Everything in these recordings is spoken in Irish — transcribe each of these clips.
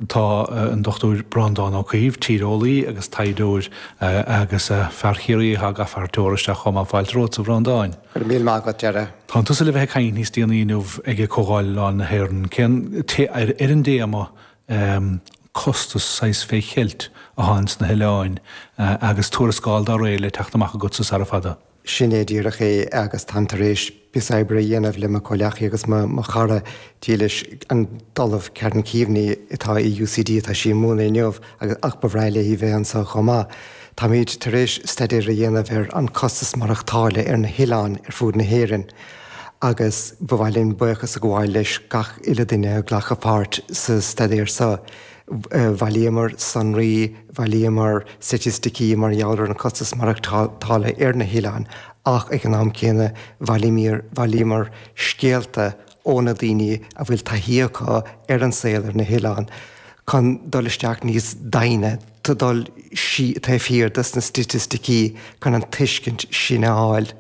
Tá an Dr Breandán Ó Caoimh, tíreolaí agus taighdeoir agus fear Chiarraí atá ag fear teora isteach chomh maith. Fáilte romhat, a Bhreandáin. Go raibh míle maith agat, Dara. Tánn tusa le bheith ag caint níos déanaí inniu ag Comhdháil Oileáin na hÉireann. Cén, ar an dtéama costas saghas fé cheilt atá ins na hoileáin agus tuarascáil dá réir le teacht amach agatsa sara fada. Sin é díreach é agus táim tar éis píosa oibre a dhéanamh le mo chomhleacaí agus mo chara dílis, an tOllamh Karen Keaveney atá i UCD, tá sí ag múineadh inniu agus ach ba bhreá léi bheith anseo chomh maith. Táimid tar éis staidéar a dhéanamh ar an costas maireachtála ar na hoileáin ar fud na hÉireann agus ba mhaith linn buíochas a ghabháil leis gach uile duine a ghlac páirt sa staidéar seo. Bhailíomar sonraí, bhailíomar staitisticí mar gheall ar an costas maireachtála ar na hoileáin ach ag an am céanna bhailíomar scéalta ó na daoine a bhfuil taithí acu ar an saol ar na hoileáin chun dul isteach níos doimhne, dul taobh thiar dos na staitisticí chun an tuiscint sin a fháil.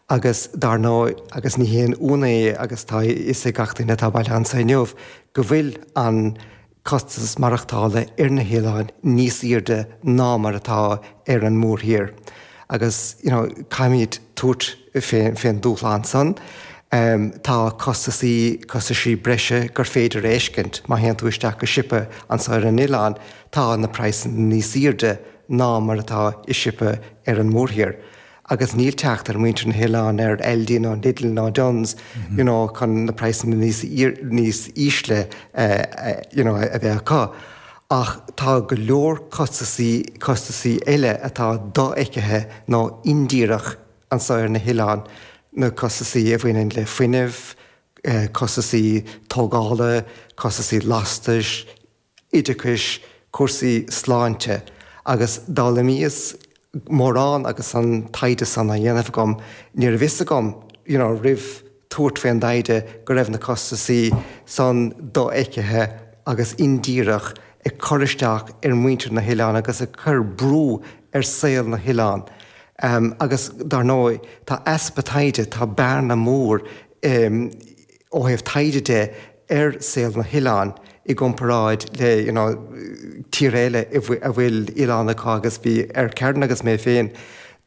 Agus dar ndóigh, agus ní haon ionadh é agus tá a fhios ag gach duine atá bailithe anseo inniu, go bhfuil an costas maireachtála ar na hoileáin níos airde ná mar atá ar an mórthír agus you know caithfimid tabhairt fén dúshlán san. Tá costasaí, costaisí breise gur féidir a fheiscint má théann tú isteach go siopa anso ar an oileán, tá na praghsanna níos airde ná mar atá i siopa ar an mórthír. agus níl teacht ar muintir na hoileán ar Aldi nó Lidl nó Dunnes you know chun na praghsanna níos níos ísle you know a bheith acu. Ach tá go leor costasaí costasaí eile atá dofheicthe nó indíreach anso ar na hoileáin, na costasaí a bhaineann le fuinneamh, costasaí tógála, costasaí lastais, oideachais, cúrsaí sláinte agus d'fhoghlaimíos mórán agus an taighde san á dhéanamh agam. Ní raibh fhios agam you know roimh tabhairt faoin dtaighde go raibh na costasaí san dofheicthe agus indíreach ag cur isteach ar mhuintir na hoileán agus ag cur brú ar saol na hoileán. Agus dar ndóigh tá easpa taighde, tá bearna mór ó thaobh taighde de ar saol na hoileán i gcomparáid le you know tíortha eile a bhfuil oileáin acu agus bhí ar Karen agus mé féin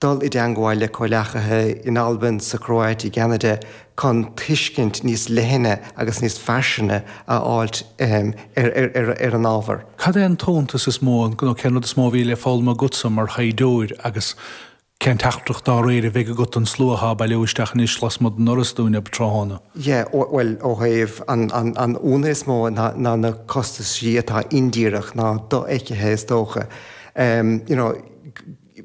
dul i dteangmháil le comhleacaithe in Albain, sa Chróit, i gCeanada chun tuiscint níos leithne agus níos fairsinge a fháilt ar an ábhar. Cad é an t-iontas is mó nó cén rud is mó a bhí le foghlaim agatsa mar thaighdeoir agus Cén teachtaireacht dá réir a bheidh agat don slua atá ag bailiú isteach anois lasmuigh den fhoras dúinn tráthnóna? Yeah, bhuel, ó thaobh an ionadh is mó ná na costaisí atá indíreach, ná dofheicthe is dócha. You know,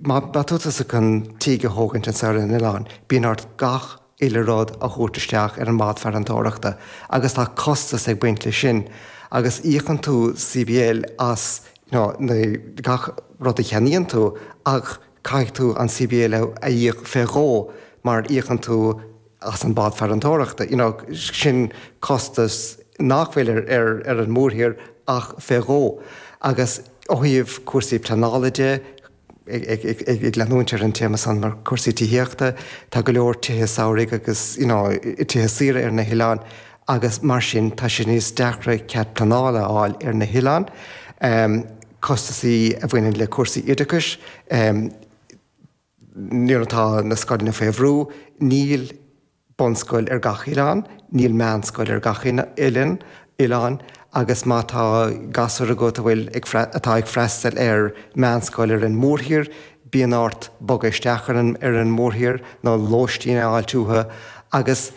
má tá tusa chun tigh a thógaint anseo ar an oileán, bíonn ort gach uile rud a thabhairt isteach ar an mbád farantóireachta agus tá costas ag baint leis sin agus íocann tú CBL as you know gach rud a cheannaíonn tú ach caithfidh tú an CBL a íoc fé dhó mar íocann tú as an bád farantóireachta. You know sin costas nach bhfuil ar ar ar an mórthír ach fé dhó agus ó thaobh cúrsaí pleanála de, ag leanúint ar an téama san mar cúrsaí tithíochta, tá go leor tithe samhraidh agus you know tithe saoire ar na hoileáin agus mar sin tá sé níos deacra cead pleanála a fháil ar na hoileáin. Costasaí a bhaineann le cúrsaí oideachais, nuair atá na scoileanna faoi bhrú, níl bunscoil ar gach oileán, níl meánscoil ar gach oileán, oileán agus má tá gasúr agat a bhfuil ag atá ag freastal ar meánscoil ar an mórthír, bíonn ort bogadh isteach ar an ar an mórthír nó lóistín a fháilt uathu agus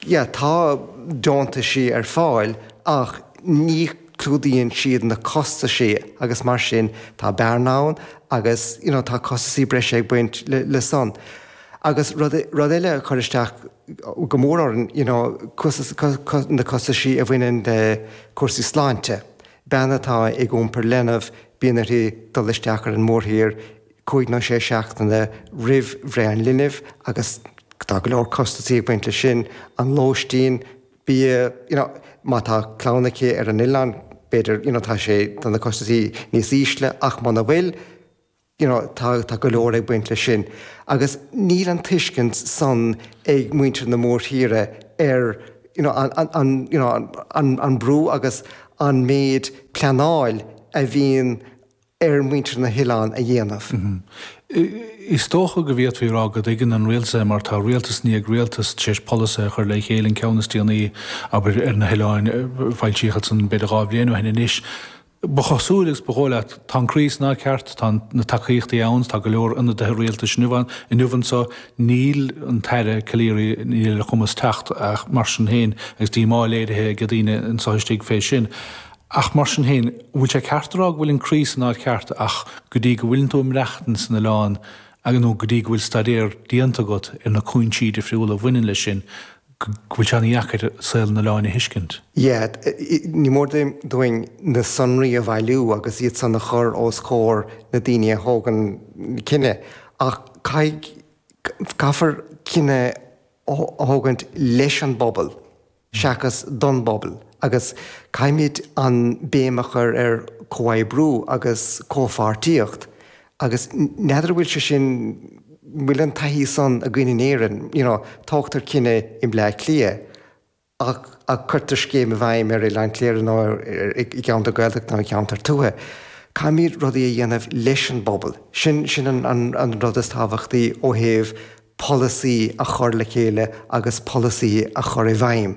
yeah tá deontaisí ar fáil ach ní clúdaíonn siad na costaisí agus mar sin tá bearna ann agus you know tá costaisí breise ag baint le le san. Agus rud rud eile a chuir isteach go mór orainn, you know, costas, na costaisí a bhaineann le cúrsaí sláinte. Bean atá ag iompar leanbh, bíonn uirthi dul isteach ar an mórthír cúig nó sé seachtaine roimh bhreith an linbh agus tá go leor costaisí ag baint leis sin, an lóistín, bia, you know, má tá clann aici ar an oileán, b'fhéidir, you know, tá sé, tá na costaisí níos ísle ach muna bhfuil, you know, tá, tá go leor ag baint leis sin. Agus níl an tuiscint san ag muintir na mórthíre ar, you know, an, an, you know, an, an brú agus. an méid pleanáil a bhíonn ar mhuintir na hoileán a dhéanamh. Is dócha go bhféadfaí a rá go dtuigeann an rialtas é mar tá rialtas i ndiaidh rialtas tar éis polasaithe a chur le chéile, an ceann is déanaí, abair, ar na hoileáin, foilsíodh ansan b'fhéidir 2 bhliain ó shin anois. Ba chosúil agus ba dhóigh leat, tá an croí san áit ceart, tá na tacaíochtaí ann, tá go leor ionadaithe rialtais inniu inniu anso, níl an tAire Calleary, níl ar a chumas teacht ach mar sin féin agus díomá léirithe ag daoine anso istigh fé sin. Ach mar sin féin, an bhfuil sé ceart a rá go bhfuil an croí san áit cheart ach go dtí go bhfuileann tú ag maireachtaint san oileán nó go dtí go bhfuil staidéar déanta agat ar na cúinsí difriúla a bhaineann leis sin, go bhfuil sé ana-dheacair saol an oileáin a thuiscint? Yeah, ní mór dúinn na sonraí a bhailiú agus iad san a chur os comhair na daoine a thógann cinneadh ach caithfidh, caithfear cinneadh a thógaint leis an bpobal. seachas don bpobal agus caithfimid an béim a chur ar comhoibriú agus comhpháirtíocht agus n'fheadar an bhfuil sé sin, an bhfuil an taithí san againn in Éirinn, you know, tógtar cinneadh i mBleá Cliath ach ach cuirtear scéim i bhfeidhm ar Oileán Chléire nó i gceantar Gaeltachta nó i gceantar tuaithe. Caithfimid rudaí a dhéanamh leis an bpobal. Sin sin an an rud is tábhachtaí ó thaobh polasaí a chur le chéile agus polasaí a chur i bhfeidhm.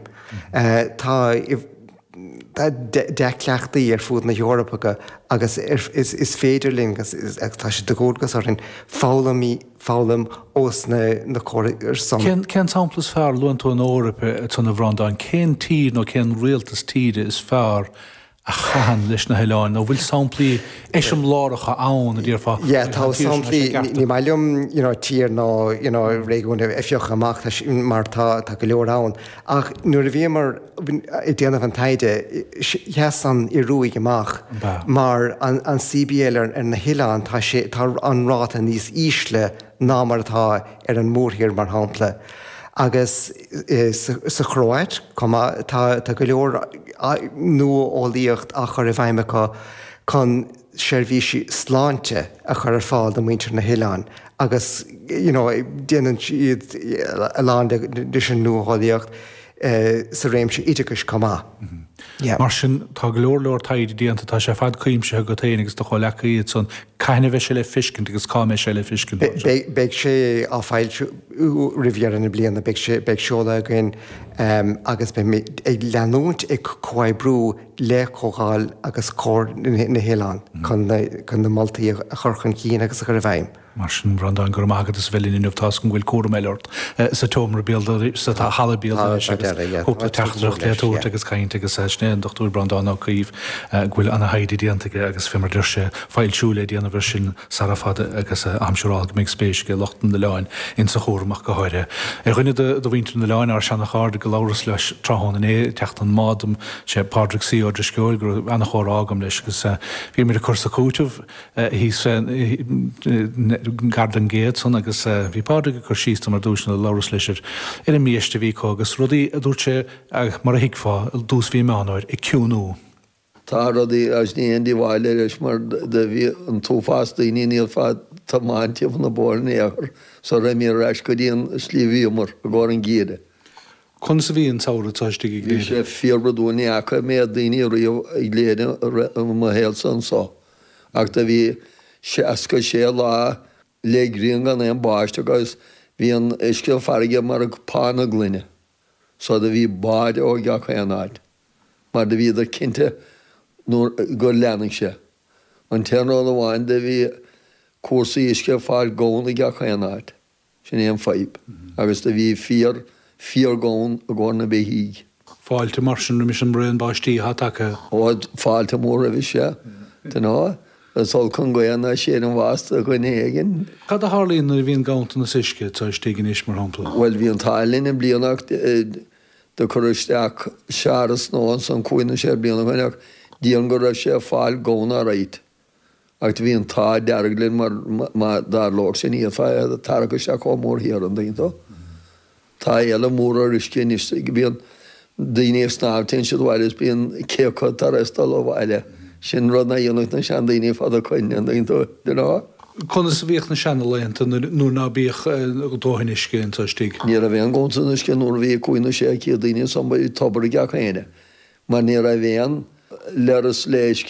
Tá dea-chleachtaí ar fud na hEorpa agus is féidir linn, agus tá sé de dhualgas orainn, foghlaim foghlaim ós na córais san. Cén sampla is fearr, luann tú an Eoraip ansan a Bhreandáin, cén tír nó cén rialtas tíre is fearr a chaitheann leis na hoileáin, nó bhfuil samplaí eiseamláireacha ann, a déarfá, Yeah, tá samplaí, ní maith liom, you know, tír nó, you know, réigiún a phiocadh amach mar tá, tá go leor ann. Ach nuair a bhíomar ag déanamh an taighde, sheas an Ioruaidh amach mar an, an CBL ar, ar na hoileáin, tá sé, tá an ráta níos ísle ná mar atá ar an mórthír, mar shampla. Agus sa Chróit chomh maith, tá go leor nua-eolaíocht á chur i bhfeidhm acu chun seirbhísí sláinte a chur ar fáil do mhuintir na hoileáin agus you know déanann siad a lán leis an nua-eolaíocht sa réimse oideachais chomh maith. Yeah. Mar sin, tá go leor leor taighde déanta, tá sé ar fad cuimsithe agat féin agus do chomhleacaí ansan. Cathain a bheidh sé le feiscint agus cá mbeidh sé le feiscint? Beidh sé á foilsiú roimh dheireadh na bliana. Beidh sé, beidh seoladh againn agus beimid ag leanúint ag comhoibriú le Comhdháil agus Comhar na nOileán chun na moltaí a chur chun cinn agus a chur i bhfeidhm. Mar sin, Bhreandáin, go raibh maith agat as a bheith linn inniu. Tá's agam go bhfuil cúram eile ort sa tseomra béaloidis, sa halla béaloidis agus cúpla teachtaireacht le tabhairt agus caint agus sin é an Dr. Breandán Ó Caoimh go bhfuil ana-thaighde déanta aige agus fé mar a deir sé, foilsiú le déanamh air sin sara fada agus táim siúráilte go mbeidh spéis ag lucht an oileáin insa chúram ach go háirithe. Ar dhuine de mhuintir an oileáin, ár seana-chairde go labhras leis tráthnóna inné ag teacht ón mbád dom, sé Pádraig C. Ó Drisceoil go raibh ana-chomhrá agam leis agus bhíomar ag cur 's ag cúiteamh. thíos gar don gcéad san agus bhí Pádraig ag cur síos dom ar dtús nuair a labhras leis ar ar an mbiaiste a bhí acu agus rudaí a dúirt sé mar a thuigfeá i dtús mhí Meán Fhómhair ag ciúnú. Tá rudaí agus ní haon díobháil leis mar do bhí an t-uafás daoine ní fad tiomáint timpeall na bóithre in aon chor sara raibh ar ais go dtí an slí a bhíomar i gcomhair an gheimhridh. Conas a bhí an samhradh anseo istigh i Bhí gCléire? sé fíorbhrodúil ní fhaca an méad daoine riamh i gCléire i mo shaolsa anso ach do bhí 66 lá le grian gan aon báisteach agus bhí an uisce farraige mar phána gloine so do bhí báid ó gach aon áit mar do bhíodar cinnte nuair gur leanfadh sé. An t-aon rud amháin do bhí cúrsaí uisce ag fáil gann i gach aon áit. Sin é an fadhb. Agus do bhí fíor, fíor-ghann i gcomhair na beithígh. Fáilte mar sin roimis an mbraon báistí atá tagtha. Ó, fáilte mór roimhe, sea. Dunno, is olc an ghaoth ná séid an bhás do dhuine éigin. Cad a tharlaíonn nuair a bhíonn ganntanas uisce anseo istigh anois, mar shampla? Bhuel, bhí an t-ádh linn i mbliana ach do cuireadh isteach searradh nua ansan cúig nó sé bliana ó shin ach déarfainn go raibh sé ag fáil gann alright. Ach do bhí an t-ádh dearg linn mar má dtarlódh sin ní fhéadfá é a tarrac isteach chomh mór thiar an dtuigeann tú. Tá éileamh mór ar uisce anois, bíonn daoine ag snámh téann siad abhaile is bíonn cé acu tar éis dul abhaile. Sin rud ná dhéanfadh na seandaoine fad ó shoin an dtuigeann tú, you know. Conas a bhíodh na seana-laethanta nuair ná bíodh dóthain uisce anseo istigh? Ní raibh aon ghanntanas uisce nuair a bhí cúig nó sé chéad daoine ansan, bhí tobar ag gach éinne mar ní raibh aon. leithreas léisce.